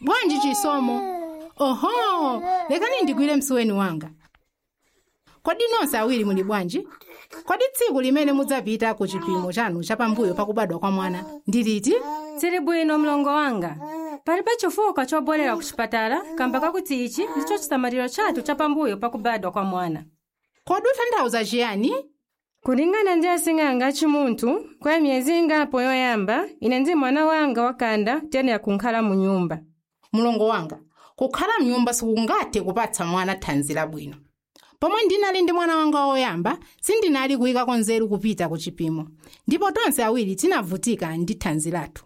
Bwanji Chisomo? Oho, lekani ndigwire msuweni wanga. Kodi nonse awiri muli bwanji? Kodi tsiku limene mudzapita ku chipimo chanu chapambuyo pakubadwa kwa mwana ndi liti? Tsiri bwino, mlongo wanga. Palibe chifukwa chobwerera ku chipatala kamba kakuti ichi ndicho chisamaliro chathu chapambuyo pakubadwa kwa mwana. Kodi ukutanthauza chiyani? Kulingana ndi asing'anga achimunthu, kwa miyezi ingapo yoyamba, ine ndi mwana wanga wakhanda tiyenera kunkhala mu nyumba. Mulongo wanga, kukhala mnyumba sikungathe kupatsa mwana thanzi labwino. Pomwe ndinali ndi mwana wanga woyamba, sindinali kuyikako nzeru kupita ku chipimo, ndipo tonse awiri tinavutika ndi thanzi lathu.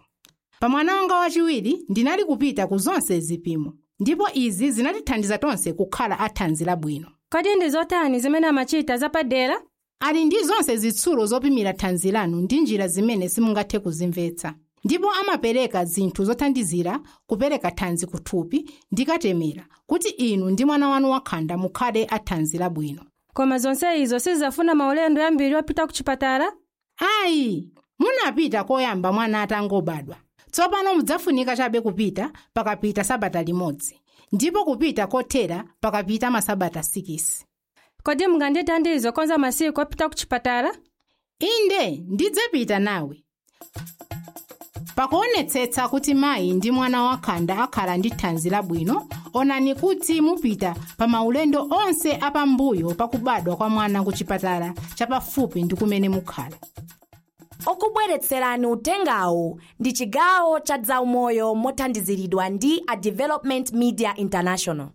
Pa mwana wanga wachiwiri ndinali kupita ku zonse zipimo, ndipo izi zinatithandiza tonse kukhala athanzi labwino. Kodi ndi zotani zimene amachita zapadera? Ali ndi zonse zitsulo zopimira thanzi lanu ndi njira zimene simungathe kuzimvetsa, ndipo amapereka zinthu zothandizira kupereka thanzi kuthupi ndi katemera kuti inu ndi mwana wanu wakhanda mukhale athanzi labwino. Koma zonse izo sizafuna maulendo ambiri opita ku chipatala? Ayi, munapita koyamba mwana atangobadwa. Tsopano mudzafunika chabe kupita pakapita sabata limodzi, ndipo kupita kothera pakapita masabata 6. Kodi mungandithandize konza masiku opita ku chipatala? Inde, ndidzapita nawe. Pakuonetsetsa kuti mayi ndi mwana wakhanda akhala ndi thanzi labwino, onani kuti mupita pa maulendo onse apambuyo pakubadwa kwa mwana ku chipatala chapafupi ndi kumene mukhala. Okubweretserani utengawu ndi chigawo cha zaumoyo mothandiziridwa ndi a Development Media International.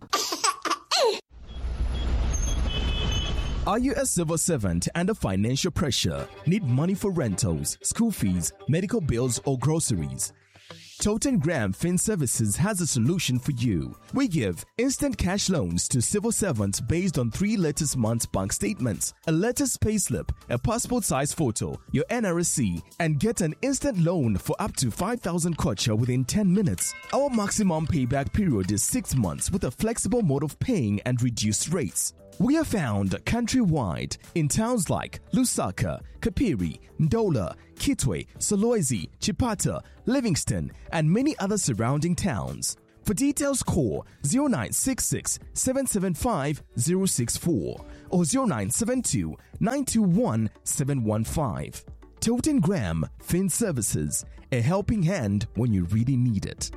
Are you a civil servant under financial pressure? Need money for rentals, school fees, medical bills, or groceries? Toten Graham Fin Services has a solution for you. We give instant cash loans to civil servants based on three latest month's bank statements, a latest payslip, a passport size photo, your NRSC, and get an instant loan for up to 5,000 kwacha within 10 minutes. Our maximum payback period is 6 months with a flexible mode of paying and reduced rates. We are found countrywide in towns like Lusaka, Kapiri, Ndola, Kitwe, Solwezi, Chipata, Livingston, and many other surrounding towns. For details, call 0966 775 064 or 0972 921 715. Toten Graham Fin Services, a helping hand when you really need it.